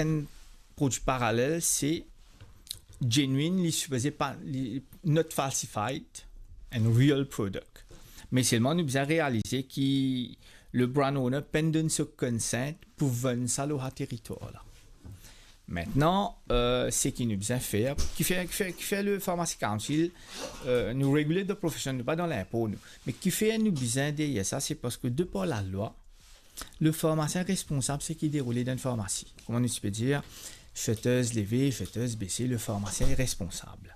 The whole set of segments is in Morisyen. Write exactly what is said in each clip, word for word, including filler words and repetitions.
enn prodwi paralel, se genuine, li sipoze pa, li not falsified, enn real product. Me selman nou bizin realize ki le brand owner pa'nn donn so consent pou vann sa lor sa teritwar la. Aster, euh, seki nou bizin fer, kifer, kifer, kifer le Pharmacy Council, euh, nou regulated profession, nou pa dan linpo nou. Me kifer nou bizin deryer sa, se parski de par lalwa, le farmasien responsab seki deroule dan enn farmasi. Kouma nou ti pe dir, shutters leve, shutters bese, le farmasien li responsab.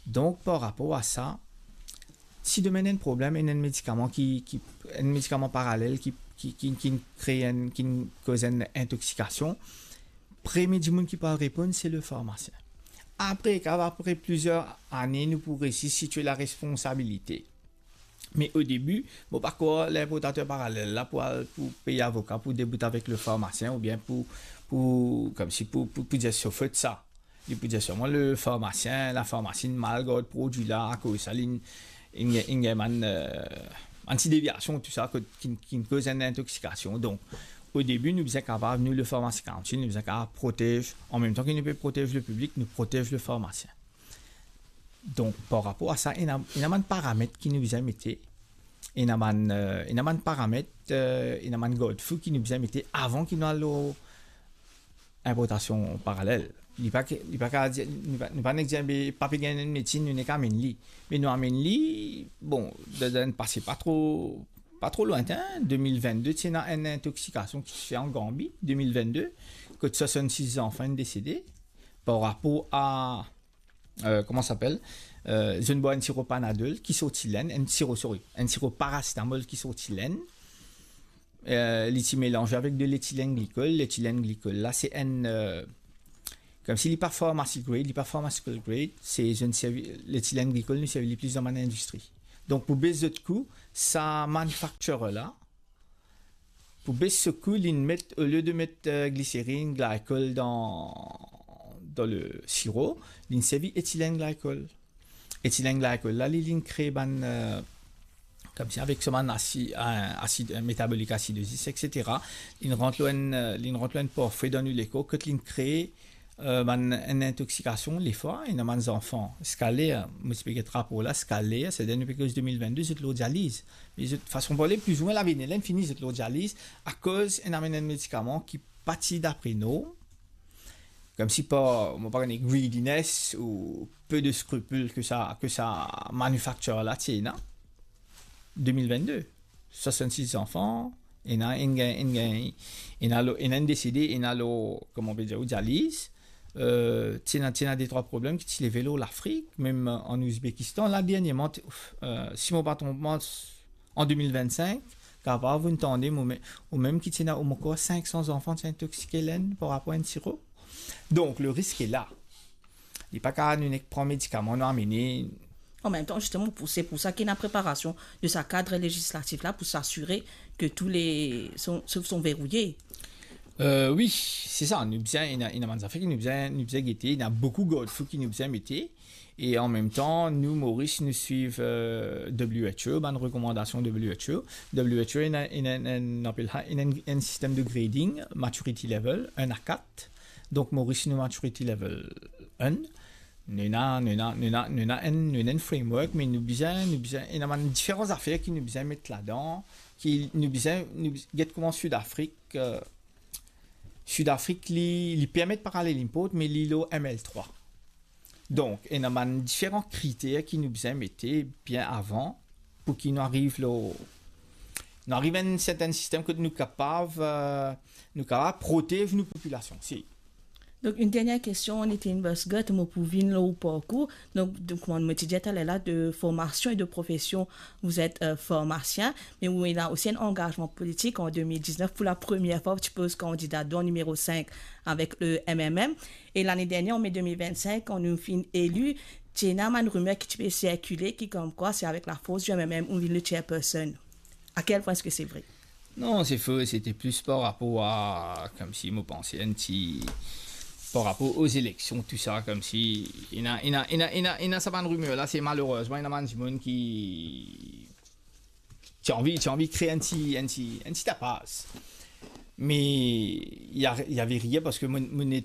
Donk, par rapor a sa, si demin ena enn problem, ena enn medikaman ki, ki, enn medikaman paralel ki, ki, ki, ki kree enn, ki koz enn intoksikasion, premie dimoun ki pou al reponn, se le farmasien. Apre, kan apre plizier ane, nou pou resi sitiye laresponsabilite. Me o debi, mo pa krwar linportater paralel la pou al, pou pey avoka, pou debout avek le farmasien, oubien pou, pou, koumsi pou, pou, pou dir so fot sa. Li pou dir selman le farmasien, lafarmasi inn mal gard prodwi la, akoz sa, li inn, inn, inn gagn bann, euh, bann ti devyasion, tou sa, ki, ki koz enn intoksikasion. Donk, o debi, nou bizin kapav, nou, le Pharmacy Council, nou bizin kapav protez, an mem tan ki nou pe protez le piblik, nou protez le farmasien. Donk, par rapor a sa, ena, ena bann paramet ki nou bizin mete, ena bann, euh, ena bann paramet, euh, ena bann garde-fou ki nou bizin mete avan ki nou al lor inportasion paralel. Li pa ke, li pa kapav dir, nou pa, nou pa nek dir, be, pa pe gagn enn medsin, nou nek amenn li. Me nou amenn li, bon, dan, dan enn pase pa tro, pa tro lwintin, de mil vennde, ti ena enn intoksikasion ki ti fer an Ganbi, de mil vennde, kot swasannsis zanfan inn desede, par rapor a, euh, kouma sa apel, euh, zot inn bwar enn siro Panadol ki sorti Lenn, enn siro, sorry, enn siro parasetamol ki sorti Lenn. Euh, li ti melanze avek de letilenglikol. Letilenglikol la, se enn, euh, koumsi li pa pharmacy grade, li pa pharmaceutical grade, se zot inn servi, letilenglikol nou servi li plis dan bann indistri. Donk, pou bes zot kou, sa manufacturer la, pou bes so kou, li'nn met, olie de met, euh, gliserinn, glycol dan, dan le siro, li'nn servi ethylene glycol. Ethylene glycol la, li, li'nn kree bann, euh, koumsi avek so bann asi-, euh, asid, euh, metabolik asidozis, et cetera. Li'nn rant lor enn, euh, li'nn rant lor enn parfwe dan nou lekor, kot li'nn kree, euh, bann, enn intoksikasion, lefwa, ena bann zanfan, ziska ler, mo ti pe get rapor la, ziska ler, setadir nou pe koz de mil vennde, zot lor dializ. Me zot, fason parle, plizoumwin lavi ena, inn fini zot lor dializ, akoz inn amenn enn medikaman ki pa ti dapre norm, koumsi par, mo pa kone, greediness ou peu de scrupule ke sa, ke sa manufacturer la ti ena. De mil vennde, swasannsis zanfan, ena enn gagn, enn gagn, ena lor, ena enn desede, ena lor, kouma on pe dir, ou dializ. Euh, ti ena, ti ena de trwa problem ki ti leve lor Lafrik, mem, euh, an Ouzbekistan. La, dernierman, ti, euh, si mo pa tronp mwa, an de mil vennsink, kapav ou'nn tande, mo me-, ou mem ki ti ena, ou mo krwar, sink san zanfan ti intoksike Lenn par rapor a enn siro. Donk, le risk est là. Li pa kapav nou nek pran medikaman, nou amene. An mem tan, zisteman, pou, se pou sa ki ena preparasion de sa kad lezislatif la, pou s'asire ke tou le, son, son, son verouye. Euh, wi, se sa. Nou bizin, ena, ena bann zafer ki nou bizin, nou bizin gete, ena boukou garde-fou ki nou bizin mete. E an mem tan, nou, Moris, nou swiv, euh, W H O, bann rekomandasion W H O. W H O ena, ena, ena, apel sa, ena enn, enn sistem de grading, maturity level, enn a kat. Donk, Moris, nou maturity level enn. Nou ena, nou ena, nou ena, nou ena enn, nou ena enn framework, me nou bizin, nou bizin, ena bann diferan zafer ki nou bizin met ladan, ki nou bizin, nou bizin, get kouma Sud Afrik, euh, Sud Afrik, li, li permet paralel import, me li lor M L trwa. Donk, ena bann diferan kriter ki nou bizin mete bien avan pou ki nou ariv lor, nou ariv enn sertenn sistem kot nou kapav, euh, nou kapav protez nou popilasion. Si. Donk, enn dernie kestion, Nitin Bhaskar, mo pou vinn lor ou parkour. Donk, donk, kouma mo ti dir taler la, de formation et de profession, vous êtes, euh, pharmacien, mais vous avez aussi un engagement politique en deux mille dix-neuf. Pour la première fois, tu poses candidat dans numéro cinq avec le M M M. Et l'année dernière, en mai deux mille vingt-cinq, quand nou finn eli, ti ena bann rimer ki ti pe sirkile, ki koumkwa se avek laforce du M M M ou vinn le chairperson. À quel point est-ce que c'est vrai? Non, se fo, se ti plis par rapor a, koumsi mo panse enn ti, par rapor aux élections, tou sa, koumsi, ena, ena, ena, ena, ena sa bann rimer la, se malerezman, ena bann dimoun ki, ti anvi, ti anvi kree enn ti, enn ti, enn ti tapaz. Mais il y a, il y avait rien parce que mon, mon net